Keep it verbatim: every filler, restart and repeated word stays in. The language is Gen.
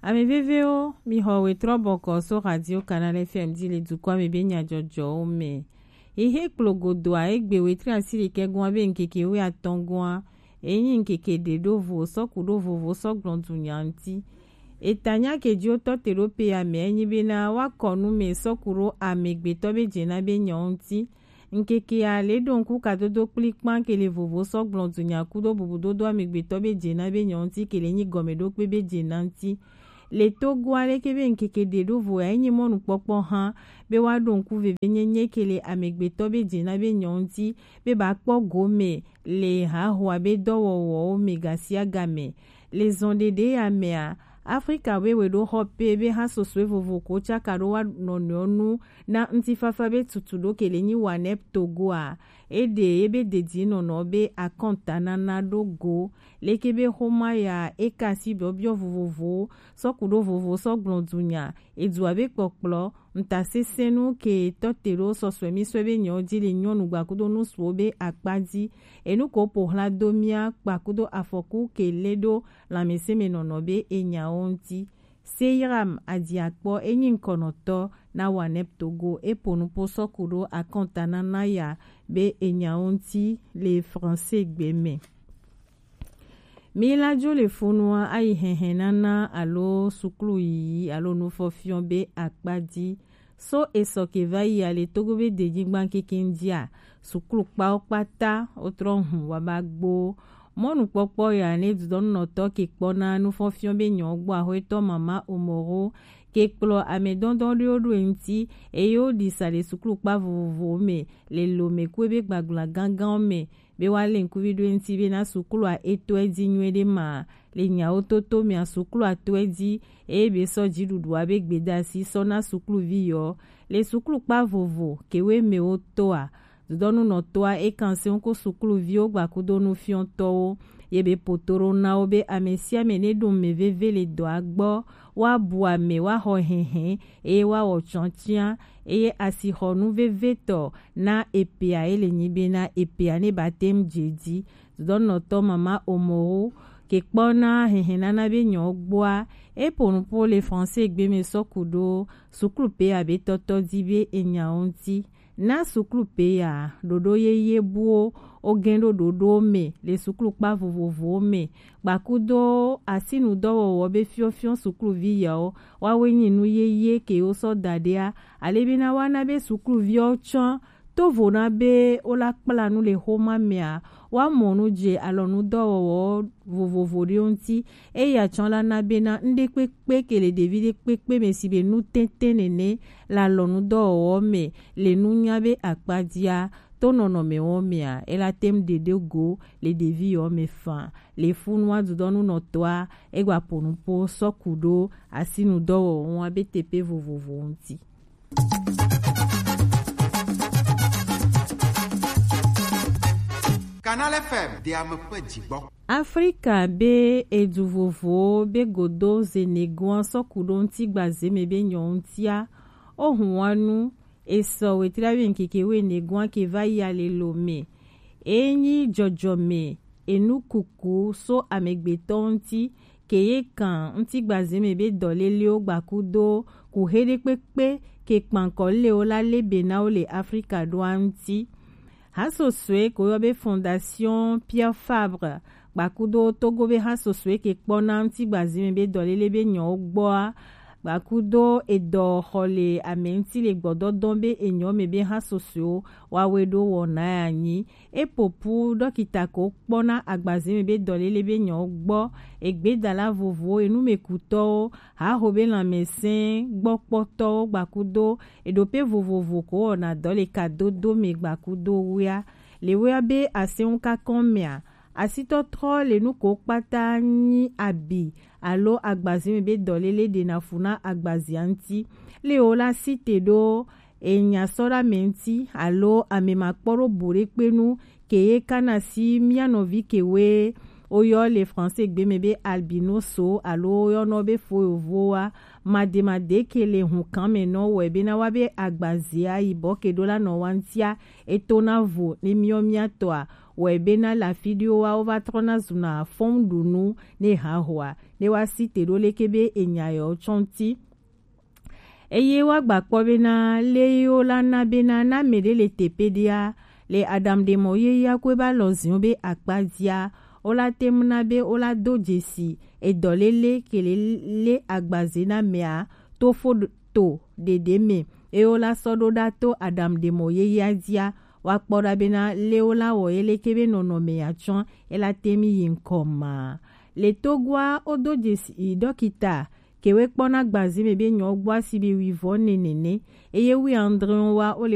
Ame vevewo, mi xɔ wetrɔ bɔkɔ so Radio Canal F M ji le dukɔa me be nyajɔjɔwo me. Ihe kplogodoa egbe wetre asi ɖekɛ gɔn be ŋkeke wuiatɔ̃ gɔn, enyi ŋkeke ɖe ɖo vo sɔku ɖo vovo sɔ gblɔn dunya ŋti. Etanya ke ji wotɔ te ɖo pe ya me enyi bena woakɔ nu me sɔku ɖo amegbetɔ be jena be nyɔ ŋti. Ŋkekea le ɖo ŋku kadodo kplikpan ke le vovo sɔ gblɔn dunya kudo bubudodo amegbetɔ be jena be nyɔ ŋti ke le nyi gɔmeɖokpe be jena ŋti. Le Togoa leke be ŋkeke ɖe ɖo vo ya enyi mɔnukpɔkpɔ hã be woaɖo ŋku vevenyenye ke le amegbetɔ be jena be nyɔ ŋti be ba kpɔ gome le hahoa be dɔwɔwɔwo me gasiagame. Le zɔn ɖeɖe ya mea, Afrika wewe ɖo xɔ pe be hã sosɔe vovo ko tsaka ɖo wa nɔnɔewo nu na ŋutifafa be tutu ɖo ke le nyi WANEP Togoa. Eɖe ye be dedinɔnɔ be akɔntanana ɖo go. Leke be xoma ya eka si biɔbiɔ vovovowo sɔku ɖo vovo sɔ gblɔn dunya, edua be kpɔkplɔ, ŋtasesẽnu ke tɔ te ɖo sɔsɔe mi sɔe be nyɔ ji le nyɔnu gbakudo nusuwo be akpa ji. Enu ko po hla do mia kpakudo afɔku ke le ɖo lãmesẽ me nɔnɔ be enyawo ŋti. Seyram Adiakpɔ enyi ŋkɔnɔtɔ na WANEP Togo, epo nupo sɔku ɖo akɔntanana ya be enyawo ŋti le français gbe me. Mi la jo le funua ayi hɛhɛ nana alo suklu yiyi alo nufɔfiɔ be akpa ji. So esɔ ke va yi ale Togo be denyigba kekeŋ jia, suklu kpawo kpata wotrɔ hun wa ba gbo. Mɔnukpɔkpɔ ya ne dudɔnunɔtɔ ke kpɔ na nufɔfiɔ be nyɔ gbɔ axɔetɔ mama Omoro ke kplɔ amedɔndɔn ɖewo ɖo eŋti eye woɖi sa le suklu kpa vovovowo me le Lome kue be gbagbla ganganwo me be woalé ŋkuvi ɖo eŋti bena suklua eto edzi nyuiɖe ma. Le nyawo toto mea, suklua to edzi eye be sɔ dziɖuɖua be gbedasi sɔ na sukluvi yɔ. Le suklukpa vovo kewo me wotoa, dudɔnunɔtɔa ekan se ŋku sukluviwo gbakudo nufiɔtɔwo ye be poto ɖo na wo be amesiame ne ɖo me veve le dɔa gbɔ, woabu ame, woaxɔ hɛhɛ eye woawɔ tsɔtia eye asixɔnu vevetɔ na epea ye le nyi bena epea ne batem dze dzi. Dudɔnɔtɔ mama Omowo ke kpɔna hɛhɛnana be nyɔ gbɔa, epo nupo le français gbe me sɔku ɖo suklu pe abe tɔtɔ di be enyawo ŋti. Na suklu pe ya ɖoɖo yeye buwo wo gɛn ɖo ɖoɖo me le suklu kpa vovovowo me. Gbakudo asinu dɔwɔwɔ be fiɔfiɔ sukluvi yawo, woawoe nyi nu yeye ke wo sɔ da ɖea, ale be na woana be sukluviwo tsɔ to vo na be wola kpla nu le xoma mea, woamɔ nu dze alɔnudɔwɔwɔ vovovo ɖewo ŋti. Eya tsɔ la na bena nuɖekpekpe ke le ɖevi ɖekpekpe me si be nu tɛntɛn nene le alɔnudɔwɔwɔ me le nunya be akpa dia, to nɔnɔmewɔ mea, ela tem ɖeɖe go le ɖevi yɔ me fan. Le funua dudɔnunɔtɔa, egba po nupo sɔku ɖo asinu dɔwɔwɔ ŋu abe teƒe vovovowo ŋti. Canal F M, de ame ƒe dzigbɔ. Afrika be edu vovowo be godo zenegoa sɔku ɖo ŋti gbaze me be nyɔ ŋtia, ohun wa nu esɔ wetri abe ŋkeke wene goa ke va yi ale lo me. Enyi jɔjɔme enukuku so amegbetɔ ŋti, ke ye kan ŋti gbaze me be dɔlelewo gbakudo ku he ɖekpekpe ke kpankɔ lewo la le be na wo le Afrika ɖoa ŋti. Hasosoe ko yɔ be Fondation Pierre Fabre gbakudo Togo be hasosoe ke kpɔna ŋti gbaze me be dɔlele be nyɔwo gbɔa, gbakudo edɔ xɔ le ame ŋti le gbɔdɔdɔ be enyɔ me be hasosoewo wawe ɖo wɔna ya nyi. Epopu dɔkita ko kpɔna agbaze me be dɔlele be nyɔwo gbɔ, egbedala vovowo, enumekutɔwo, haho be lãmesẽ gbɔkpɔtɔwo gbakudo eɖope vovovo ko wɔna dɔ le kadodo me gbakudo wea. Le wea be asɛnŋu kakɔn mea, asitɔtrɔ le nu ko kpata nyi abi alo agbaze me be dɔlele ɖena fu na agbazea ŋti. Le wo la site ɖo enya sɔ ɖe ame ŋti alo ame makpɔ ɖo bu ɖekpe nu ke ye kana si mía nɔvi ke woe Woyɔ le français gbe mɛ be albinoso alo woyɔnɔ be fo yovowa. Mademadeke le hunkan mɛ nɔ wɛ be na wa be agbazia yi bɔ ke ɖo la nɔ wa ŋtia, eto na vo ne miɔ miatɔa, wɛ be na la fi ɖio wa wo va trɔ na zuna fɔn ɖu nu ne ha hoa ne wa si te ɖo leke be enya yɔ tsɔnti. Eye woagba kpɔ bena le yewo la na bena na mɛ ɖe le teƒe ɖea, le Adam ɖe mɔ ye ya koe ba lɔ ziɔ be akpa dzia, wo la te ŋu na be wo la do dzesi edɔ lele ke le le agbaze na mɛa to fo ɖo- to ɖeɖe mɛ, eye wo la sɔ ɖo ɖa to Adam ɖe mɔ ye ya dzia, woakpɔ ɖa bena le wo la wɔ ye leke be nɔnɔme ya tsɔ e la te mi yi ŋkɔ ma. Le Togoa wo do dzesi ɖɔkita kewe kpɔna gbazi mɛ be nyɔ gbɔ asi be wivɔ ne nene, eye wi andre wa wo le